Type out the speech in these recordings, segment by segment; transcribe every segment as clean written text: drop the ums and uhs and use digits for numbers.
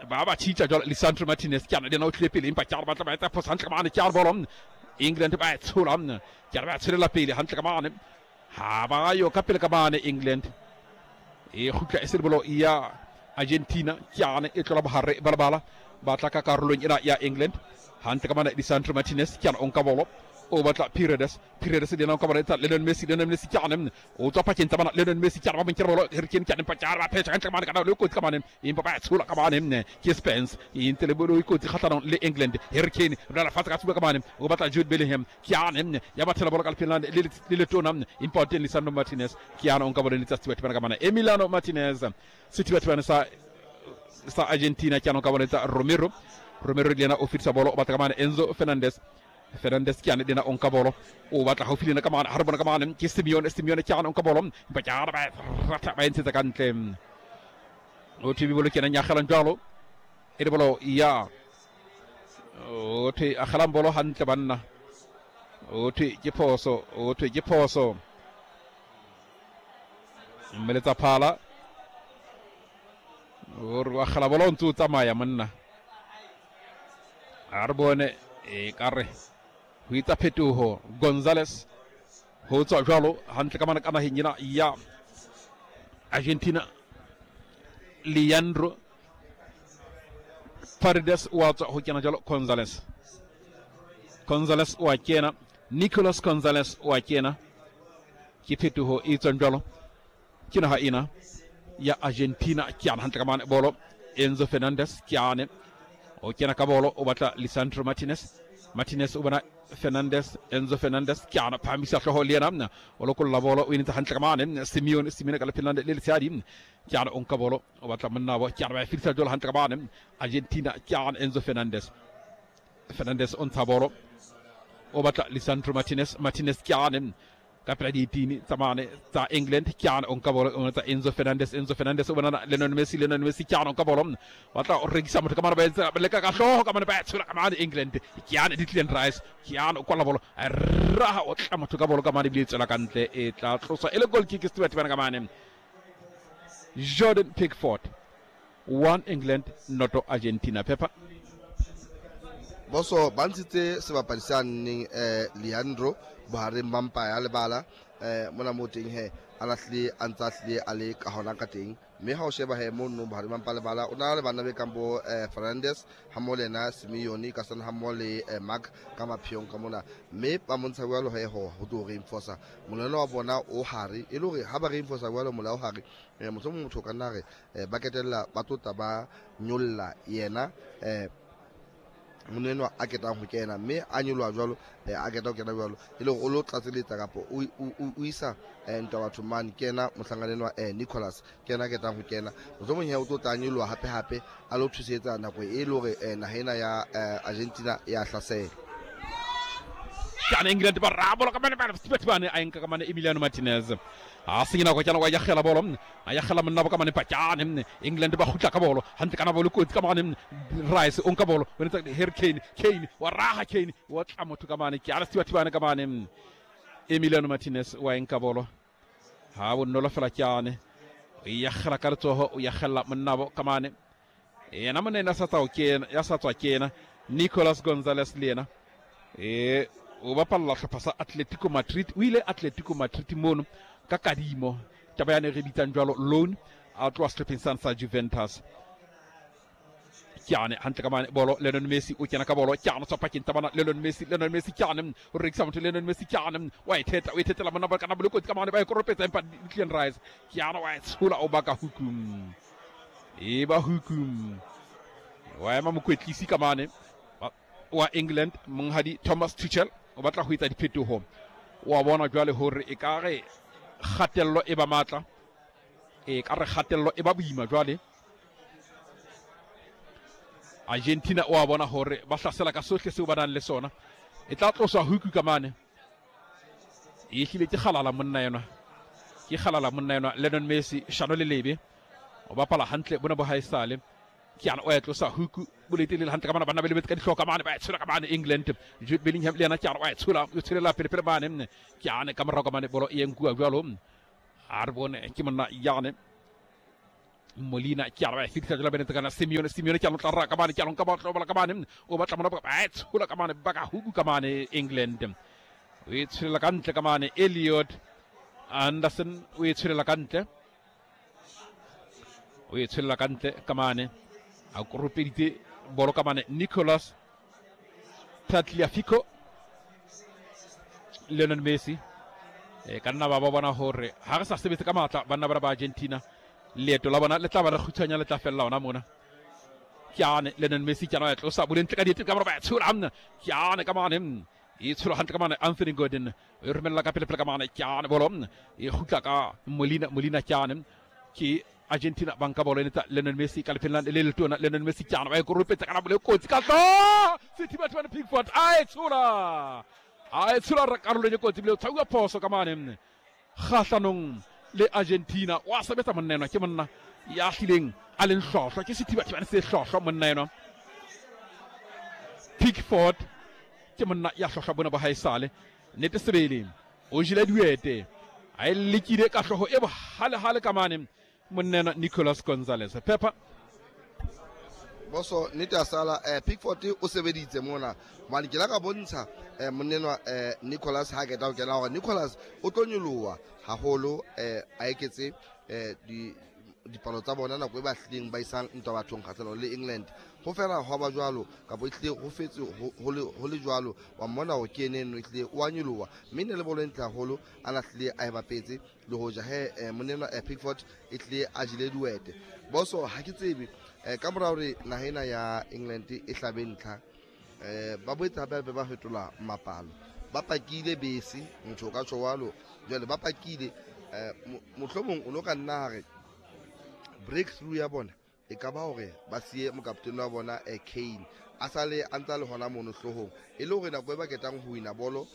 Ba ba tšhitša jalo Lisandro Martinez ke ana le yena o tlile pele, empa ke a re ba tla ba etsa phoso hantle ka mane. Ke a re bolo England ba e tshola, ke a re ba tsholela pele hantle ka mane, ha ba yo ka pele ka mane. England e kgutla e se le bolo ya Argentina, ke ane e tlola bohare ba lebala, ba tla ka karolong ena ya England hantle ka mane. Lisandro Martinez ke ana o nka bolo, o batla Paredes, Paredes le yena o nka bolo, etsa Lionel Messi, Lionel Messi ke ane o tswa pakeng tsa bana, Lionel Messi ke ana ba mo nkela bolo, Harry Kane ke ane, empa ke ana ba phetha hantle ka mane, kana le kotsi ka mane, empa ba tshola ka mane ke Spence, e ntse le bolo e kotsi kgahlanong le England. Harry Kane re fatshe ka tsuba ka mane, o batla Jude Bellingham, ke ane ya bathela bolo ka lepheng le letona, empa o teng Lisandro Martinez ke ane o nka bolo le tsa Sethibathibane ka mane, Emiliano Martinez Sethibathibane sa Argentina ke ane o ka bolo tsa Romero, Romero le yena o fetisa bolo, o batla ka mane Enzo Fernandez, Fernandez ke ane le yena o nka bolo, o batla haufi le yena ka mane, ha re bona ka mane ke Simeone, Simeone ke ane o nka bolo, empa ke ane ba ratha ba e ntshetsa ka ntle. O thwe bolo ke yena nyagelang jalo e le bolo ya o thwe agelang bolo hantle banna, o thwe ke phoso, o thwe ke phoso, mmeletsa phala o re wa agela bolo o ntse o tsamaya monna. A re bone e ka re ho etsa phetoho Gonzales ho tswa jwalo hantle ka mane ka naheng ena ya Argentina. Leandro Paredes wa tswa ho kena jwalo Gonzales, Gonzales wa kena, Nicolas Gonzales wa kena, ke phetoho e tswang jwalo ke naha ena ya Argentina. Ke ana hantle ka mane bolo Enzo Fernandez ke ane o kena ka bolo, o batla Lisandro Martinez, Martinez o bona Fernandez, Enzo Fernandez ke ana phahamisa hlooho le yena o lokolla bolo, o enetsa hantle ka mane Simeone, Simeone ka lepheng le letshehadi ke ana o nka bolo, o batla monna bo ke ana ba e fedisa jwalo hantle ka mane Argentina. Ke ana Enzo Fernandez, Fernandez o ntsha bolo, o batla Lisandro Martinez, Martinez ke ane ka pela dietini tsa mane tsa England, ke ana o nka bolo, o tsa Enzo Fernandez, Enzo Fernandez o bonana Lionel Messi, Lionel Messi ke ana o nka bolo, ba tla o rekisa motho ka mane, ba etsa leka ka hlooho ka mane, ba tshola ka mane England, ke ana Declan Rice ke ana o kwala bolo, a raha o tla motho ka bolo ka mane, ebile e tswela ka ntle, e tla tloswa e le goal kick Sethibathibane ka mane. Jordan Pickford 1 England noto Argentina. Pepper Boso ba ntshitse sebapadi sa nneng Leandro bohareng ba mpa ya lebala mona mo teng he a lahlile a ntse a hlile a le ka hona ka teng, mme ha o sheba he mono bohareng ba mpa lebala o na le banna be kang bo Fernandes ha mmoho le yena Simeone ka sana ha mmoho le Mark ka mapheong ka mona, mme ba montsha jwalo he ho tlo reinforcer molelo wa bona o hare, e le hore ha ba reinforcer jwalo mola o hare mohlomong motho o ka nna re ba ketella ba tlotla ba nyolla yena monna enwa a ketang ho kena, mme a nyoloha jwalo a keta ho kena jwalo e le hore o lo tlatseletsa kapa o isa ntwa batho mane. Ke yena mohlankana enwa Nicholas ke yena a ketang ho kena, mohlomong he o tlo tla nyoloha hape hape a lo thusetsa nako e le hore naha ena ya Argentina ya hlasela. Kana England ba rabola ka mane ba Sethibathibane a enka ka mane Emiliano Martinez a senya nako kana wa yagela bolo a yagela monna bo ka mane pakane England ba kgutla ka bolo hantle kana bolo kotsi ka mane Rice o nka bolo o netsa Harry Kane, Kane wa raha Kane wa tla motho ka mane ke ala Sethibathibane ka mane Emiliano Martinez wa enka bolo ha bonolo fela ke ane o yagela ka letsoho o yagela monna bo ka mane yena monna ena sa tswa kena ya sa tswa kena Nicolas Gonzalez le yena e o bapalla hlopha sa Atletico Madrid, o ile Atletico Madrid mono ka kadimo taba yane re bitsang jwalo loan, a tloha sehlopheng sane sa Juventus. Ke ane hantle ka mane bolo Lionel Messi o kena ka bolo, ke ane tswa pakeng tsa bana Lionel Messi, Lionel Messi ke ane o rekisa motho Lionel Messi ke ane wa e theta o e thetela monna ba kana bolo kotsi ka mane ba e koropetsa, empa Declan Rice ke ane wa e tshola o baka hukum e ba hukum wa ema mokwetlisi ka mane wa England monghadi Thomas Tuchel o batla ho etsa diphetoho, wa bona jwale hore e ka re kgatello e ba matla, e ka re kgatello e ba boima jwale. Argentina o a bona hore ba hlasela ka sohle seo ba nang le sona, e tla tloswa huku ka mane, e hlile ke kgalala monna enwa, ke kgalala monna enwa Lionel Messi shano le lebe o bapala hantle bona bo haesale ke ana o ya tlosa huku bolete le hantle ka mane banna ba lebetse ka dihlooho ka mane ba e tshola ka mane England Jude Bellingham le yena ke ana wa e tshola o tsholela pele pele mane ke ana ka morao ka mane bolo e nkuwa jwalo a re bone ke monna yane Molina ke a ba fitla jela bene kana Simeone. Simeone ke a lotla ra ka mane, ke a lonka ba tlo bola ka mane, o batla mona ba tshola ka mane, ba ka huku ka mane. England o e tsholela ka ntle ka mane. Elliot Anderson o e tsholela ka ntle, o e tsholela ka ntle ka mane, a koropeditse bolo ka mane. Nicolas Tagliafico, Lionel Messi e ka nna ba ba bona hore ha re sa sebetse ka matla banna ba ba Argentina, leeto la bona le tla ba le kgutshwanya, le tla fella ona mona. Ke ane Lionel Messi, ke ana ya tlosa boleng ka diete ka mora, ba tshola amna, ke ane ka mane, e tshola hantle ka mane. Anthony Gordon e romella ka pele pele ka mane, ke ane bolo e kgutla ka Molina. Molina, ke ane, ke Argentina ba nka bolo ene tsa Lionel Messi ka lefelong le letona. Lionel Messi, ke ana ba e koropetsa ka bolo e kotsi ka tlo sethibathibane. Pickford a e tshola, a e tshola re karolong e kotsi, bile o tshwauwa phoso ka mane kgahlanong le Argentina. Wa sebetsa monna enwa, ke monna ya hlileng a leng hlwahlwa, ke sethibathibane se hlwahlwa monna enwa. Pickford ke monna ya hlwahlwa bona ba haesale, nnete sebele o jele duete, a e lekile ka hlooho e bohalehale ka mane monna enwa Nicolas Gonzalez Pepper. Boso, nnete a sala Pickford o sebeditse mona, hobane ke la ka bontsha monnenwa Nicholas ha keta ho kena hore Nicholas o tlo nyoloha haholo, a eketse di dipalo tsa bona nako e ba hlileng ba isang ntwa bathong kgahlanong le England. Ho fela hwa ba jwalo, kapa e hlile ho fetse ho le jwalo, wa mmona hore ke ene eno e hlile o a nyoloha, mme ne le bolo e ntle haholo a na hlile a e bapetse. Le hoja he monnenwa Pickford e hlile a jele duete. Boso, ha ke tsebe ka mora hore naha ena ya England e hlabe ntlha, ba boetse hape hape ba fetola mapalo, ba pakile bese, motho o ka tjho jwalo. Jwale ba pakile, mohlomong o no ka nna hare breakthrough ya bona e ka ba hore ba siye mokaptene wa bona Kane a sale a ntsa le hona mono hloohong, e le hore nako e ba ketang ho wina bolo,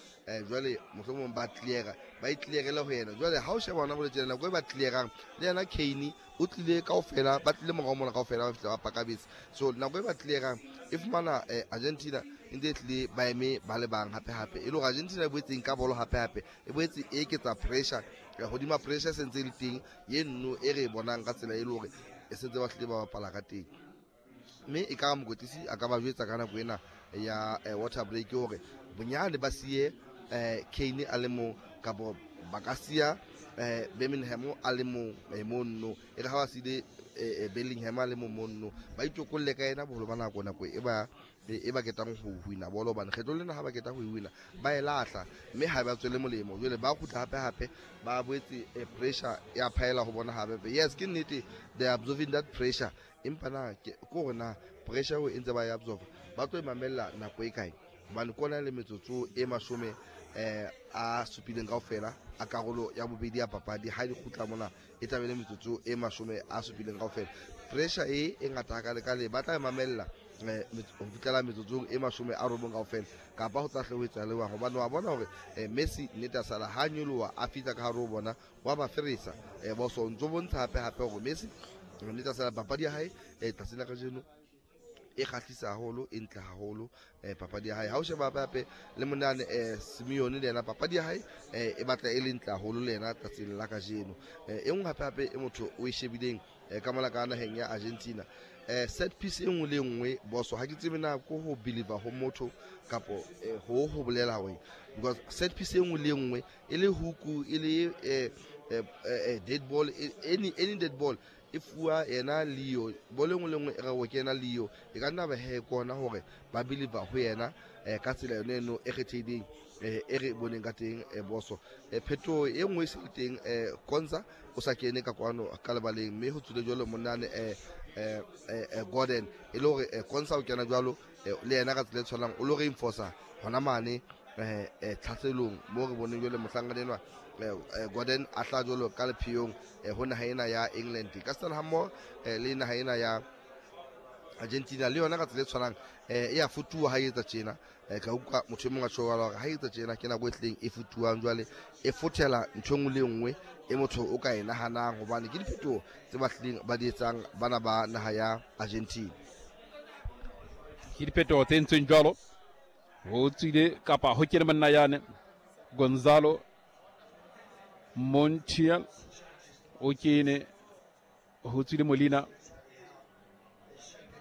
jwale mohlomong ba cleara, ba e clearele ho yena. Jwale ha o sheba hona bolo tjena, nako e ba clearang le yena Kane o tlile kaofela, ba tlile morao mona kaofela, ba fihla ba paka bese. So nako e ba clearang e fumana Argentina e ntse e tlile ba eme ba le bang hape hape, e le hore Argentina e boetseng ka bolo hape hape e boetse e eketsa pressure hodima pressure se ntse e le teng ye nno e re e bonang ka tsela e le hore e sentse ba hlile ba bapala ka teng. Mme e ka mokwetlisi a ka ba jwetsa ka nako ena ya water break hore bonyane ba siye Kane a le mong, kapo ba ka siya Birmingham a le mong monno, e re ha ba siile Bellingham a le mong monno, ba itokolle ka ena boholo ba nako, nako e ba ketang ho wina bolo, hobane kgetlo lena ha ba keta ho wina ba e lahla, mme ha ba tswele molemo. Jwale ba kgutla hape hape ba boetse pressure ya phaela ho bona hape. Yes, ke nnete, they are absorbing that pressure, empa na ke hore na pressure eo e ntse ba e absorba ba tlo e mamella nako e kae? Hobane kona le metsotso e 70 kaofela a karolo ya bobedi ya papadi, ha di kgutla mona e tla be le metsotso e 70 kaofela. Pressure e e ngata hakalekale ba tla e mamella ho fihlela metsotsong e 90 kaofela, kapa ho tla hle ho etsa lewang? Hobane wa bona hore Messi, nnete a sala ha nyoloha a fihla ka hare ho bona, wa ba feresa. Boso, ntso bontsha hape hape hore Messi, nnete a sala, papadi ya hae tsatsing la kajeno e kgahlisa haholo, e ntle haholo papadi ya hae. Ha o sheba hape hape le monane Simeone, le yena papadi ya hae e batla e le ntle haholo le yena tsatsing la kajeno. E nngwe hape hape e motho o e shebileng ka mona ka naheng ya Argentina, set piece e nngwe le e nngwe, boso, ha ke tsebe na ko ho believer ho motho kapo ho bolela hore, because set piece e nngwe le e nngwe, e le huku, e le dead ball, any dead ball e fuwa yena Leo. Bolo e nngwe le nngwe e re ke yena Leo. E ka nna ba he kona hore ba believer ho yena ka tsela yone eno e kgethehileng e re boneng ka teng. Boso, phetoho e nngwe e se le teng, Konza o sa kene ka kwano ka lebaleng, mme ho tswile jwalo monane Gordon, e le hore Konza o kena jwalo le yena ka tsela e tshwanang, o lo reinforcer hona mane tlhaselong mo re boneng jwale mohlankana enwa Gordon a tla jwalo ka lepheyong ho naha ena ya England ka setsana hammoho le naha ena ya Argentina. Le yona ka tsela e tshwanang e ya futuwa ha e etsa tjena. Ka utlwa motho e mong a tjho hore ha e etsa tjena ke nako e tlileng e futuwang, jwale e fothela ntho e nngwe le e nngwe e motho o ka e nahanang, hobane ke diphetoho tse ba hlileng ba di etsang bana ba naha ya Argentina. Ke diphetoho tse entsweng jwalo, ho tswile kapa ho kene monna yane Gonzalo Montiel, o kene. Ho tswile Molina.